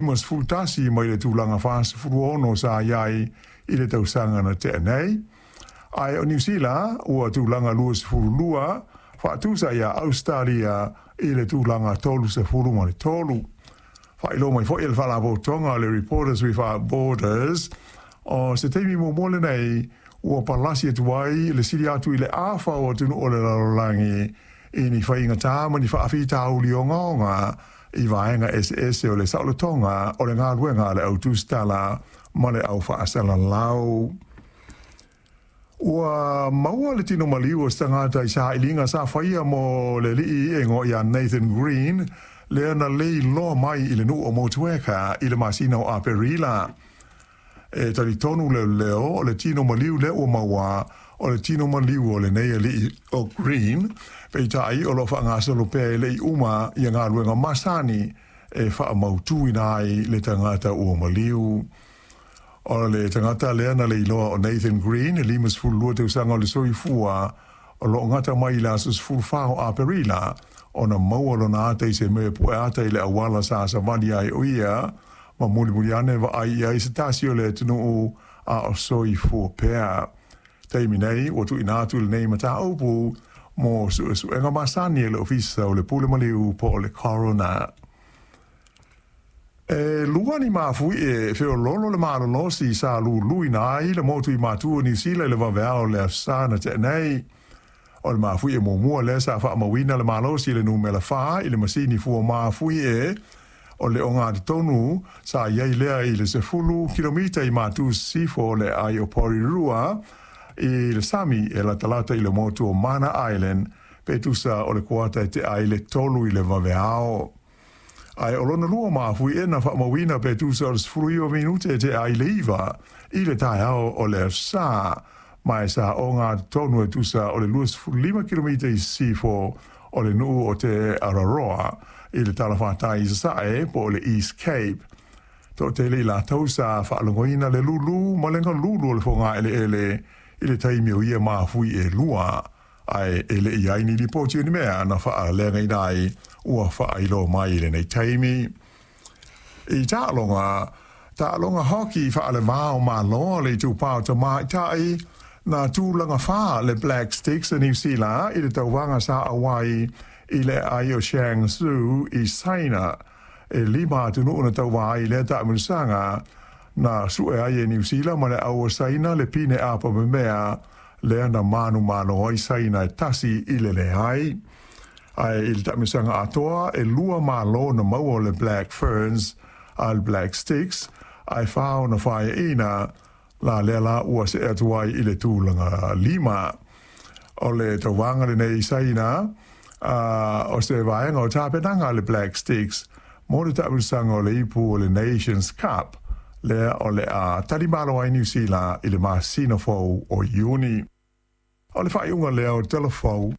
51 mai le tulaga 46 sa i ai i le tausaga na tea nei. Ae o Niu Sila ua tulaga 22, faatusa iā Ausetalia i le tulaga 33. Faailoa mai foi e le Faalapotopotoga o le Reporters Without Borders, o se taimi muamua lenei ua palasi atu ai le sili atu i le afa o atunuu o le lalolagi i ni faigata ma ni faafitauli ogaoga i vaega eseese o le saolotoga o le galuega a le au tusitala ma le au faasalalau. Ua maua le tino maliu o se tagata i sailiga sa faia mo le alii e igoa ia Nathan Green, lea na le iloa mai i le nuu o Motueka i le masina o Aperila. E talitonu leoleo o le tino maliu lea ua maua o le tino maliu o lenei alii o Green, peitai o lo o faagasolo pea e le i uma ia galuega masani e faamautuina ai le tagata ua maliu. O le tagata lea na leiloa o Nathan Green, e 52 tausaga o le soifua, o lo o gata mai i le aso 14 o Aperila, ona maua lona ata i se mea e pue ata i le auala sa savali ai o ia, ma mulimuli ane vaai i ai se tasi o le atunuu a o soifua pea. Taimi nei, ua tuuina atu lenei mataupu mo suesuega masani e le Ofisa o le Pule Maliu po o le Coroner. E lua ni mafuie e feoloolo le malolosi sa luluina ai le motu i Matu o Niu Sila i le vaveao o le Aso Sa na tea nei. O le mafuie muamua lea sa faamauina le malosi i le numera 4 i le masini fua mafuie o le ogatotonu sa i ai lea i le 10 kilomita i Matu Sisifo o le aai o Porirua i le sami e latalata i le motu o Mana Island pe tusa o le kuata e tea ai le 3 i le vaveao. Ae o lona lua mafuie na faamauina pe tusa o le 19 minute e tea ai le 9 i le taeao o le Aso Sa, ma e sa ogatotonu e tusa o le 25 kilomita i sisifo o le nuu o Te Araroa i le talafatai i sasae po o le East Cape. Toatele i latou sa faalogoina le lulu ma le galulu o le fogaeleele i le taimi o ia mafui e lua, ae e le i i ai ni lipoti o ni mea na faaleagaina ai ua faailoa mai i lenei taimi. I taaloga, taaloga hoki faale-va o Malo o le Itupa o Tamaitai, na tulaga fa le Black Sticks a Niu Sila i le tauvaga sa auai i le aai o Shangzhou i Saina. E lima atunuu na tauva ai i lea taamilosaga, na sue ai e Niu Sila ma le au o Saina le pine apa memea lea na manumalo ai Saina e 1-0. Ae i le taamilosaga atoa, e lua malo na maua o le Black Ferns a le Black Sticks, ae fa ona faeaina, la lea la ua see atu ai i le tulaga lima. O le tauvaga lenei i Saina, o se vaega o tapenaga a le Black Sticks mo le taamilosaga o le ipu o le Nations Cup, lea o le a talimalo ai Niu Sila i le masina fou o Iuni. O le faaiuga lea o Tala Fou.